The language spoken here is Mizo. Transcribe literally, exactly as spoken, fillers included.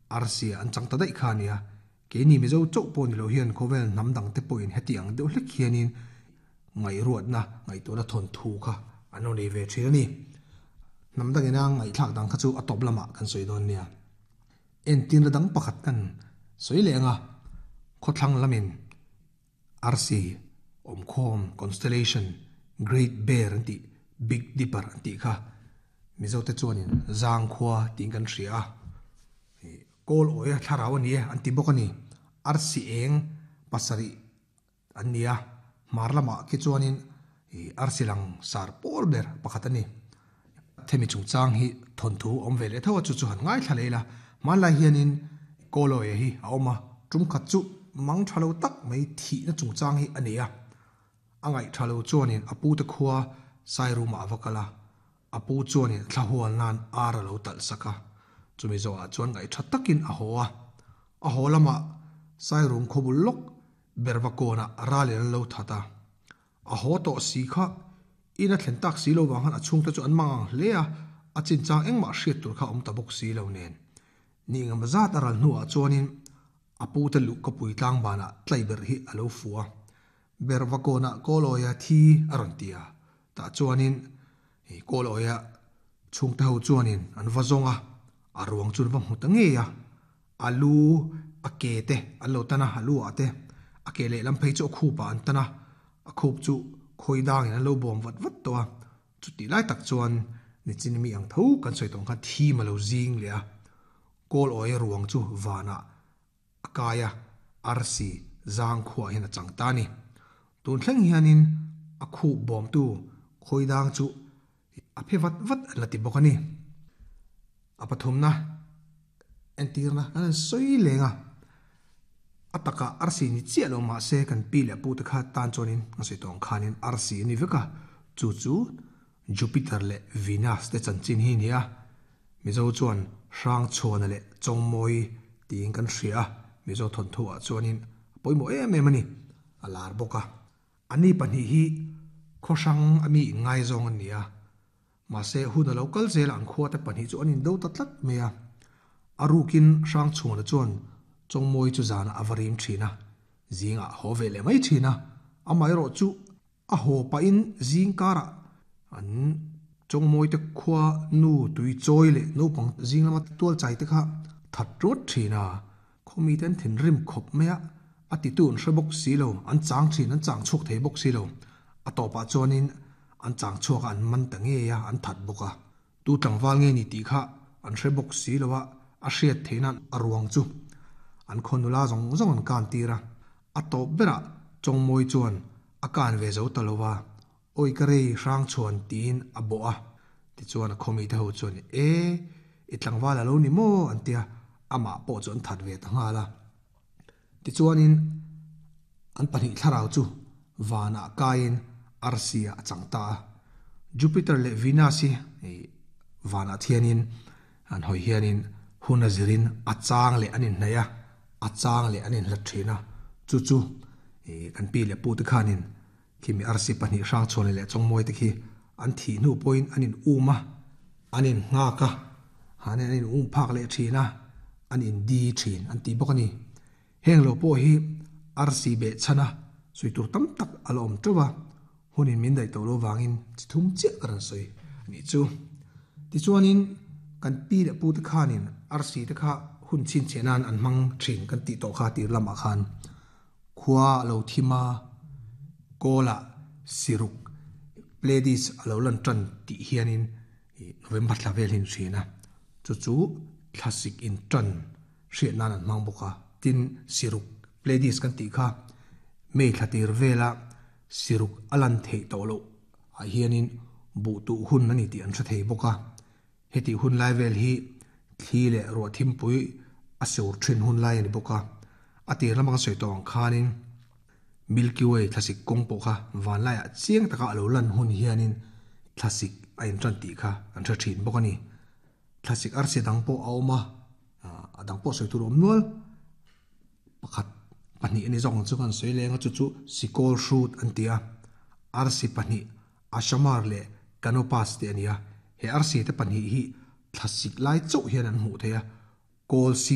Arsi an chang ta daih kha a nia. Keini Mizo chauh pawh ni lo hian khawvel hnam dang te pawhin heti ang deuh hlek hianin ngaihruatna, ngaihtuahna thawnthu kha an lo nei ve thin a ni. Hnam dangina ngaihthlak dang kha chu a tawp lamah kan sawi dawn nia. Entirna dang pakhat kan sawi leh ang a, khawthlang lamin arsi awmkhawm, constellation, Great Bear an tih, Big Dipper an tih kha Mizote chuanin Zangkhua tiin kan hria a. Kawl awia thlarau a ni e an ti bawk a ni. Arsi eng pasarih an ni a, hmar lamah khi chuanin arsi lang sar pawl ber pakhat a ni. Themi chungchang hi thawnthu awm ve leh tho a, chu chu han ngaithla leh ila. Hmanlai hianin Kawl awia hi a awm a, tum khat chu mang tha lo tak mai thihna chungchang hi a nei a. A ngaih tha lo chuanin a pute khua Sairumah a va kal a, a pu chuanin thlahual nan ar a lo talh sak a, chumi zawhah chuan ngaih tha takin a haw a. A haw lamah Sairum khawbul lawk Bervakawnah ralin an lo that a, a haw tawh si kha in a thlen tak si lo vang khan a chhungte chu an mang ang hle a, a chinchang engmah hriat tur kha a awm ta bawk si lo nen. Ni engemaw zat a ral hnuah chuanin a pute luh ka pui tlang banah tlai ber hi a lo fu a, Bervakawnah Kawlawia thi a rawn ti a, tah chuanin Kawlawia chhungte ho chuanin an va zawng a, a ruang chu an va hmu ta ngei a, a lu a ke te an lo tan a, a lu ah te a ke lehlam phei chu a khup ah an tan a, a khup chu khawi dangin an lo bawm vat vat tawh a, chutih lai tak chuan nichin mi ang tho kan sawi tawh ang khan thim a lo zing leh a, Kawl awia ruang chu vanah a kai a, arsi zang khuah hian a chang ta a ni. Tun thleng hianin a khup bawmtu khawi dang chu a phe vat vat an la ti bawk a ni. A pathumna entirna kan han sawi leng a, a takah arsi ni chiah lo mahse kan pi leh pu te kha tan chuanin a sawi tawh ang khanin arsi a ni vek a, chu chu Jupiter leh Venus te chanchin hi a ni a, Mizo chuan Hrangchhuana leh Chawngmawi tiin kan hria a, Mizo thawnthu ah chuanin a pawimawh em em a ni, a lar bawk a. Ani pahnih hi khaw hrang a mi inngaizawng an ni a, mahse hun a lo kal zel a an khua te pahnih chu an indo ta tlat mai a. A rukin Hrangchhuana chuan Chawngmawi chu zanah a va rim thin a, zingah a haw ve leh mai thin a, amaherawh chu a haw pahin zing karah an Chawngmawi te khua nu tui chawi leh naupang zing lama tual chai te kha that rawt thin a, khawmi te an thinrim khawp mai a, a titu an hre bawk si lo, an chang thin, an chang chhuak thei bawk si lo. A tawpah chuanin an chang chhuak a, an man ta ngei a, an that bawk a. Tu tlangval nge ni tih kha an hre bawk si lo a, a hriat theih nan a ruang chu an khaw nula zawng zawng an kan tir a. A tawp berah Chawngmawi chuan a kan ve zo ta lo va, Awi ka rei hrang chhuan tiin a bawh a. Tichuan a khawmi te ho chuan E, i tlangval a lo ni maw? an ti a, amah pawh chu an that ve ta nghal a. Tichuanin an pahnih thlarau chu vanah kaiin arsi ah a chang ta a. Jupiter leh Venus hi vanah thianin an hawi hianin hun a zirin a chang leh an inhnaih a, a chang leh an inhlat thin a. Chu chu kan pi leh pu te khanin khimi arsi pahnih Hrangchhuana leh Chawngmawi te khi an thih hnu pawhin an in um a, an in nghak a, han an in um phak leh thin a, an in di thin an ti bawk a ni. Heng lo pawh hi arsi beh chhan a sawi tur tam tak a la awm teuh a, hunin min daih tawh lo vangin chi thum chiah ka rawn sawi a nih chu. Tichuanin kan pi leh pu te khanin arsi te kha hun chhinchhiah nan an hmang thin kan tih tawh kha tir lamah khan khua a lo thim a, kawlah siruk Pleiades a lo lan tan tih hianin November thla vel hi an hrian a, chu chu thlasik in tan hriat nan an hmang bawk a. Tin, siruk Pleiades kan tih kha May thla tir vela siruk a lan theih tawh loh ah hianin buh tuh hun a ni tih an hre thei bawk a. Hetih hun lai vel hi thli leh ruah thimpui a sur thin hun lai a ni bawk a. A tir lamah kan sawi tawh ang khanin Milky Way thlasik kawng pawh kha vanlaiah chiang taka a lo lan hun hianin thlasik a intan tih kha an hre thin bawk a ni. Thlasik arsi dang pawh a awm a, a dang pawh sawi tur a awm nual. Pakhat pahnih a ni zawk ang chu kan sawi leng a, chu chu Sikawl hrut an ti a. Arsi pahnih Ashamar leh Canopus te a ni a. He arsi te pahnih hi thlasik lai chauh hian an hmuh theih a, kawl sir